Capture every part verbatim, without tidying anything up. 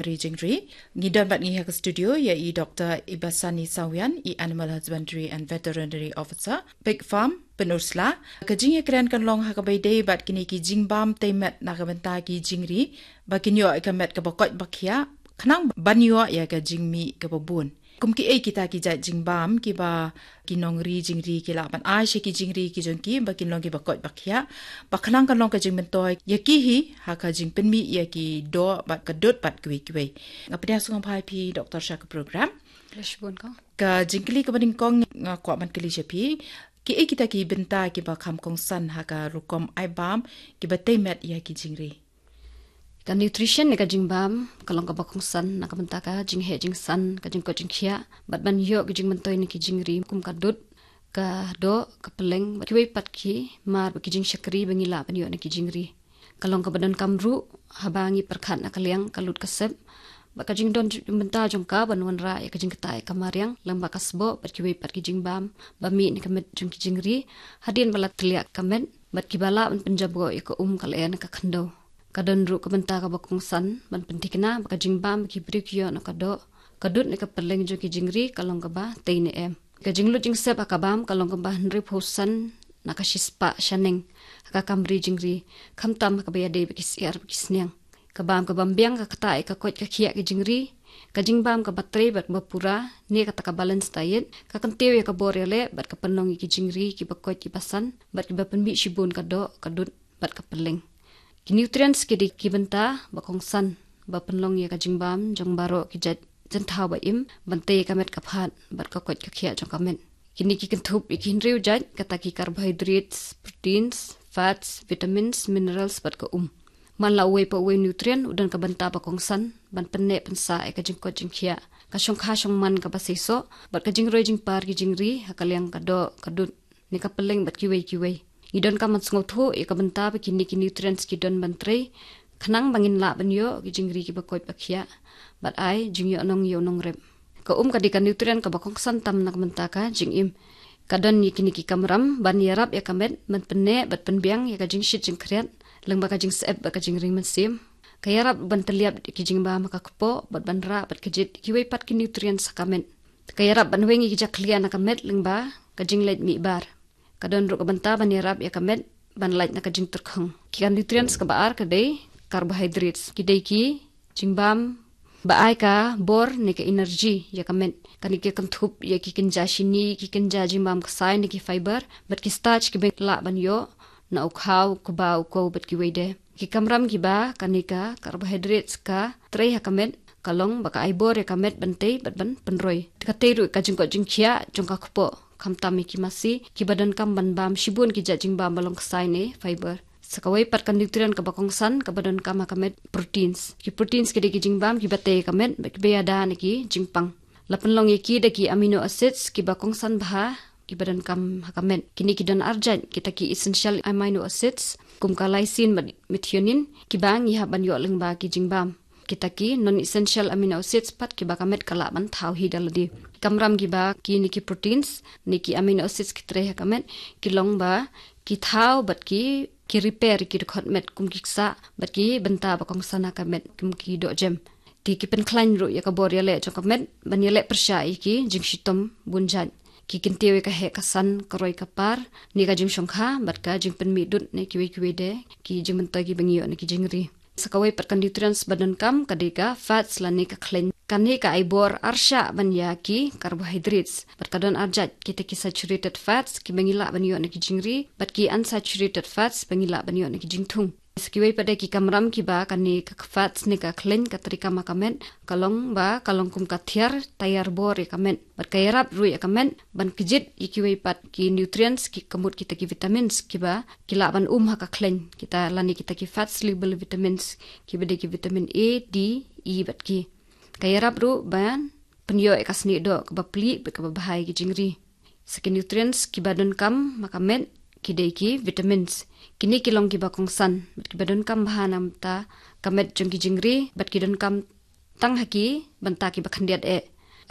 ri jingri. Ngi don bad ngi ha ka studio ïa i Doktor Ibasani Sawian, i Animal Husbandry and Veterinary Officer, Pig Farm, Pynursla. Ka jingïakren kan long ha kaba ïadei bad kine ki jingbam tei met na ka bynta ki jingri, ba kin ïoh ïa ka met kaba koit ba khiah, khnang ban ïoh ïa ka jingmih kaba bun. Kum kiei kita ki jait jingbam kiba ki nongri jingri ki lah ban ai sha ki jingri ki jong ki ba kin long kiba koit ba khiah, ba khnang kan long ka jingmyntoi ïa ki hi ha ka jingpynmih ïa ki doh bad ka dud bad kiwei kiwei. Nga pdiang sngewbha ïa phi Doktor sha ka program. Khublei shibun kong. Ka jingkylli kaba nyngkong nga kwah ban kylli sha phi, kiei kita ki bynta kiba kham kongsan ha ka rukom ai bam kiba tei met ïa ki jingri? Ka nutrition ne ka jingbam ka long kaba kongsan na ka bynta ka jingheh jingsan, ka jingkoit jingkhiah, bad ban ïoh ka jingmyntoi na ki jingri kum ka dud, ka doh, ka pylleng bad kiwei pat ki mar bad ki jingshakri ba ngi lah ban ïoh na ki jingri. Ka long kaba donkam ruh haba ngi pyrkhat na ka liang ka lut ka sep, bad ka jingdon bynta jong ka ban wanrah ïa ka jingktah ïa ka mariang lyngba ka sboh bad kiwei pat ki jingbam ba mih na ka met jong ki jingri, hadien ba la tliah ka met, bad kiba lah ban pynjabok ïa ka um ka lyer ne ka khyndew. Ka don ruh ka bynta kaba kongsan ban pynthikna ba ka jingbam ba ki briew ki ïoh na ka doh, ka dud ne ka pylleng jong ki jingri ka long kaba tei ne em. Ka jinglut jingsep ha ka bam ka long kaba hynriewphew san na ka shispah shaneng ha ka kam ri jingri, khamtam ha kaba ïadei bad ki syiar bad ki sniang. Ka bam ka bym biang ka ktah ïa ka koit ka khiah ki jingri. Ka jingbam kaba trei bad kaba pura ne kata ka balanced diet ka kyntiew ïa ka bor ïaleh bad ka pynlong ïa ki jingri kiba koit kiba san bad kiba pynmih shibun ka doh, ka dud bad ka pylleng. Ki nutrients ki dei ki bynta ba kongsan ba pynlong ïa ka jingbam jong baroh ki jait jynthaw ba im ban tei ïa ka met ka phad bad ka koit ka khiah jong ka met. Kine ki kynthup ïa ki hynriew jait, kata ki carbohydrates, proteins, fats, vitamins, minerals bad ka um. Man la uwei pa uwei nutrient u don ka bynta ba kongsan ban pynneh pynsah ïa ka jingkoit jingkhiah, ka shongkha shongman kaba seisoh bad ka jingroi jingpar ki jingri ha ka liang ka doh, ka dud ne ka pylleng bad kiwei kiwei. Ngi donkam ban sngewthuh ïa ka bynta ba kine ki nutrients ki don ban trei khnang ba ngin lah ban ïoh ki jingri kiba koit ba khiah bad ai jingïohnong ïa u nongrep. Ka um ka dei ka nutrient kaba kongsan tam na ka bynta ka jingim. Ka don ïa kine ki kamram ban ïarap ïa ka met ban pynneh bad pynbiang ïa ka jingshit jingkhriat lyngba ka jingsyep bad ka jingring mynsiem. Ka ïarap ban tylliap ki jingbam ha ka kpoh bad ban rah bad kjit kiwei pat ki nutrients ha ka met. Ka ïarap ban weng ïa ki jakhlia na ka met lyngba ka jingleit mihbar. Ka don ruh ka bynta ban ïarap ïa ka met ban lait na ka jingtyrkhong. Ki ka nutrients kaba ar ka dei carbohydrates, ki dei ki jingbam ba ai ka bor ne ka energy ïa ka met. Kane ki kynthup ïa ki kynja shini, ki kynja jingbam ksai ne ki fiber bad ki starch kiba lah ban ïoh na u khaw, u kba, u kow bad kiwei de. Ki kamram kiba kane ka carbohydrates ka trei ha ka met ka long ba ka ai bor ïa ka met ban tei bad ban pynroi. Ka tei ruh ka jingkoit jingkhiah jong ka kpoh, khamtam ïa ki masi kiba donkam ban bam shibun ki jait jingbam ba long ksai ne fiber. Sa kawei pat ka nutrient kaba kongsan kaba donkam ha ka met, proteins. Ki proteins ki dei ki jingbam kiba tei ïa ka met bad kiba ïada na ki jingpang. La pynlong ïa ki da ki amino acids kiba kongsan bha kiba donkam ha ka met. Kine ki don arjait, kita ki essential amino acids kum ka lysine bad methionine kiba ngi hap ban ïoh lyngba ki jingbam. Kita ki non essential amino acids pat kiba ka met ka lah ban thaw hi da lade. Kamram kiba kine ki proteins ne ki amino acids ki trei ha ka met ki long ba ki thaw bad ki, ki repair ki dkhot met kum ki ksah bad ki bynta ba kongsan ha ka met kum ki dohjem. Te ki pynkhlaiñ ruh ïa ka bor ïaleh jong ka met ban ïaleh pyrshah ïa ki jingshitom bun jait. Ki kyntiew ïa ka heh ka san, ka roi ka par ne ka jingshongkha bad ka jingpynmih dud ne kiwei kiwei de ki jingmyntoi kiba ngi ïoh na ki jingri. Sa kawei pat ka nutrients ba donkam ka dei ka fats lane ka khleiñ. Kane ka ai bor arshah ban ïa ki carbohydrates bad ka don arjait, kita ki saturated fats kiba ngi lah ban ïoh na ki jingri bad ki unsaturated fats ba ngi lah ban ïoh na ki jingthung. Sa kiwei pat de ki kamram kiba kane ka fats ne ka khleiñ ka trei kam ha ka met ka long ba ka long kum ka thiar taiar bor ïa ka met. Bad ka ïarap ruh ïa ka met ban kjit ïa kiwei pat ki nutrients ki, ka mut kita ki vitamins kiba ki lah ban um ha ka khleiñ, kita lane kita ki fat soluble vitamins kiba dei ki vitamin A, D, E bad ki. Ka ïarap ruh ban pynïoh ïa ka snieh doh kaba plie bad kaba bha ïa ki jingri. Sa ki nutrients kiba donkam ha ka met ki dei ki vitamins. Kine ki long kiba kongsan bad kiba donkam bha na ka bynta ka met jong ki jingri bad ki donkam tang ha ki bynta kiba khyndiat eh.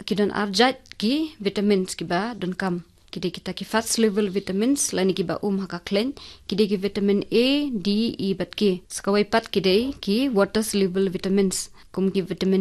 Ki don arjait ki vitamins kiba donkam. Ki dei kita ki fat soluble vitamins lane kiba um ha ka khleiñ. Ki dei ki vitamin A, D, E bad K. Sa kawei pat ki dei ki water soluble vitamins, kum ki vitamin